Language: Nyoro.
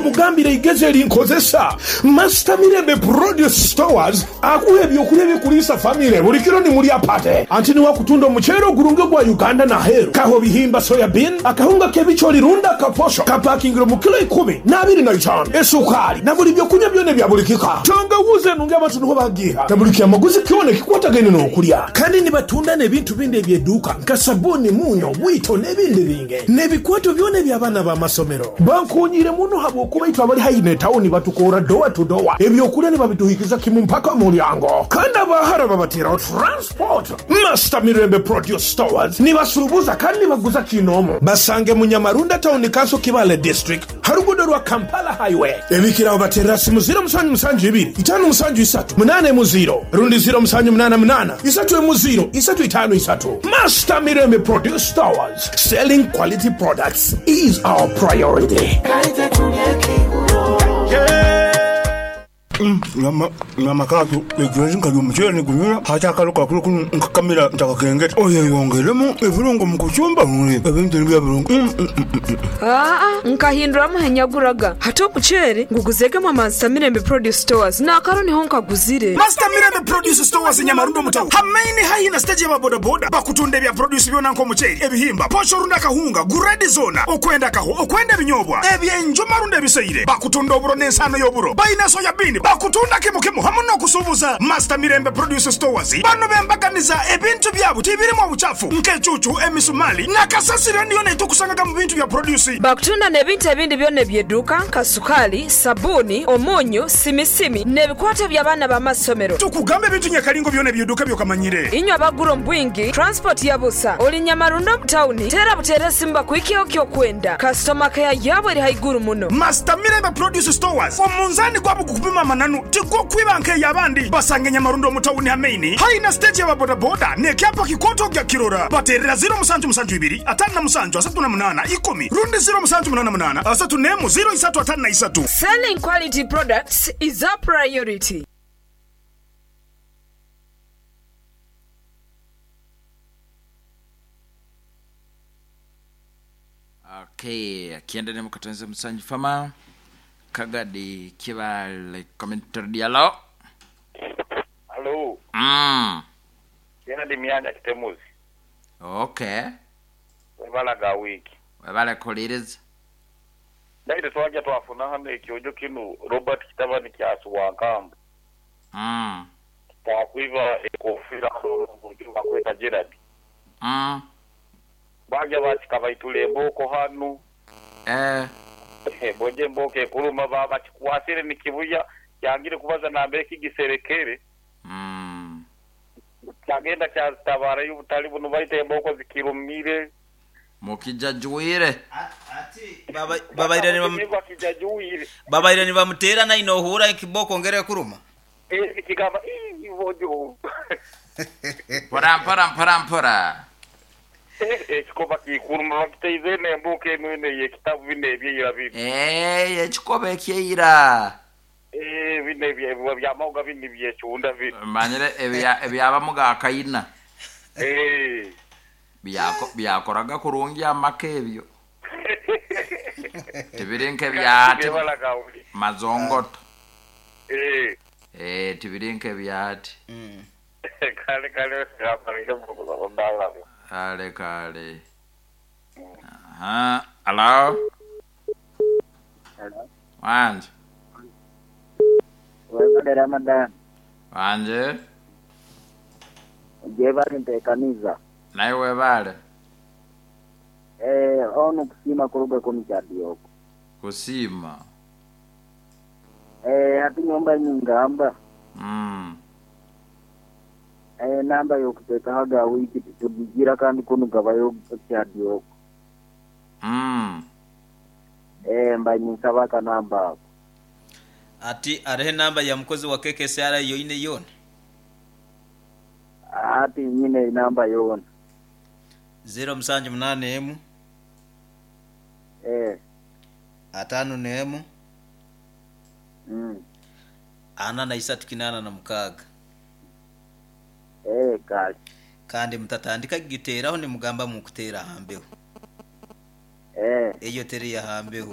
Leka mugambire eigezi erinkozesa. Master Mirembe Produce Stores akuha eby'okulya ebikuliisa famire buli kiro ni mulya pate. Anti niwe akutunda omuceere ogurungi ogwa Uganda n'aheeru. Kaho bihimba, soya bean, akahunga k'ebicoori rundi akaposho kapakingire omu kilo ikumi n'abiri na itaanu, esukaali na buli by'okunywa byona ebya buli kika. Tangawuuzi enungi abantu niho bagiiha na buli kyamaguzi kyona ekikwatagaine n'okulya. Kandi nibatunda n'ebintu bindi eby'eduuka nka sabuuni, munyo, bwito n'ebindi bingi. N'ebikwato byona eby'abaana b'amasomero. Bankoonyeire muno habw'okuba itwe abali haihi n'etawuni batukoora dowa tu dowa, eby'okulya nibabituhikiza kimu mpaka omu mulyango. Kandi abaahara babateeraho transport. Master Mirembe Produce Stores nibasuubuza kandi nibaguza kiinoomu. Basange mu Nyamarunda Town Council Kibaale District ha ruguudo rwa Kampala Highway. Ebikiraho bateerera simu ziro musanju musanju ibiri itaanu musanju isatu munaana emu ziro rundi ziro musanju munaana munaana isatu emu ziro isatu itaanu isatu. Master Mirembe Produce Stores, selling quality products is our priority. Nyama kaatu eigulo nkalya omuceere ni gunyura ate akalo kakulu kunu nkakamira ntakakengeta. Oyeyongeremu ebirungo mu kucumba ebintu ni biba birungi. Aa, nkahinduramu he nyaguraga. Hati omuceere nguguzeege mwa Master Mirembe Produce Stores n'akaro niho nkaguzire. Master Mirembe Produce Stores e Nyamarundo mu tawuni ha maini haihi na siteegi y'aba bodaboda bakutunda ebya produce byona nk'omuceeri, ebihimba, posho rundi akahunga, guredi zoona, okwenda kaho, okwenda ebinyobwa, eby'enjuma rundi ebiseire. Bakutunda oburo n'ensaano y'oburo. Baine soya bean, bakutunda kimu kimu hamu n'okusuubuza. Master Mirembe Produce Stores bano b'embaganiza, ebintu byabo tibirimu obukyafu nk'ecuucu, emisumaali na kasasiro eni yoona eitukusangaga mu bintu bya produce. Bakutunda n'ebintu ebindi byona eby'eduuka nka sukaali, sabuuni, omunyu, simisimi n'ebikwato eby'abaana b'amasomero. Tukugamba ebintu nyakalingo byona eby'eduuka by'okamanyire. Inywe abagura omu bwingi, transport ya busa. Oli Nyamarundo omu tawuni, teera buteera esimu bakuhikyeho ky'okwenda. Kasitoma keya yaabo eri haiguru muno. Master Mirembe Produce Stores, omunzaani gwabo gukupima amananu, tigukwiba nk'ey'abandi. Basange Nyamarundo omu tawuni ha maini haihi na siteegi y'aba bodaboda n'ekyapa kikooto ogya kukirora. Bateerera ziro musanju musanju ibiri, ataano na musanju, asatu na munaana, ikumi, rundi ziro musanju munaana munaana, asatu n'emu, ziro isatu ataano na isatu. Selling quality products is our priority. Okay, akiendelea mkatanza msanji fama Kagadi Kibale commentary dialo. Halo, Jena ndi Miyanja Kitemuzi. Okay. Webala ga wiiki. Webale kuliriza. Naite twaja twafuna ghano ekyojo kinu Robert kitabani kya Suwankambo. Twakwidha ekofira bulijo bakweta Gerald. Baja baakikabaitula embooko ghano. Bwoja embooko ekuluma baba bakikwasire ni kibuya kyangire kubaza nambere kigiserekere. Kyagenda kyazitabaara aye obutali buno baita embooko zikirumire. Mukijajuire. Babaire ni Bakijajuire. Babaire nibamuteera naine ohuura ekibooko ngeri ekuruma. Kigamba ii bojo. Mpora mpora mpora mpora. Ekikoba kikuruma bakitaize eno embooko eno eno ey'ekitabu bino ebyeira bino. Eh, ekikoba ekyeira. Eh, bino ebya byamauga bino ebyekunda bino. Manyire ebya ebyabamu ga kaina. Eh. Byako byakoraga kurungi amaka ebyo. Tibiri nk'ebyati mazongoto. Eh. Eh, tibiri nk'ebyati. Kale kale Kale kale. Aha, hello. Hello. Wanje. Webale Ramadan. Wanje. Gyebale ntekaniza. Naye webale. Eh, onu kusiima kuruga kunu Kyadyogo. Kusiima. Eh, ati nyomba nyingamba. Eh, namba yokutekaho ga wiki tugigira kandi kunu gabayo Kyadyogo. Eh, mba nyinsaba akanamba ako. Ati arehe enamba ya mukozi wa KKCR yoine yoona? Ati nyine enamba yoona. Ziro musanju munaana emu. Eh. Ataano n'emu. Ana na isatu kinaana na mukaaga. Eh, kale. Kandi mutatandika kugiteeraho nimugamba mukuteera aha mbeho. Eh. Eyo teri ya ha mbeho.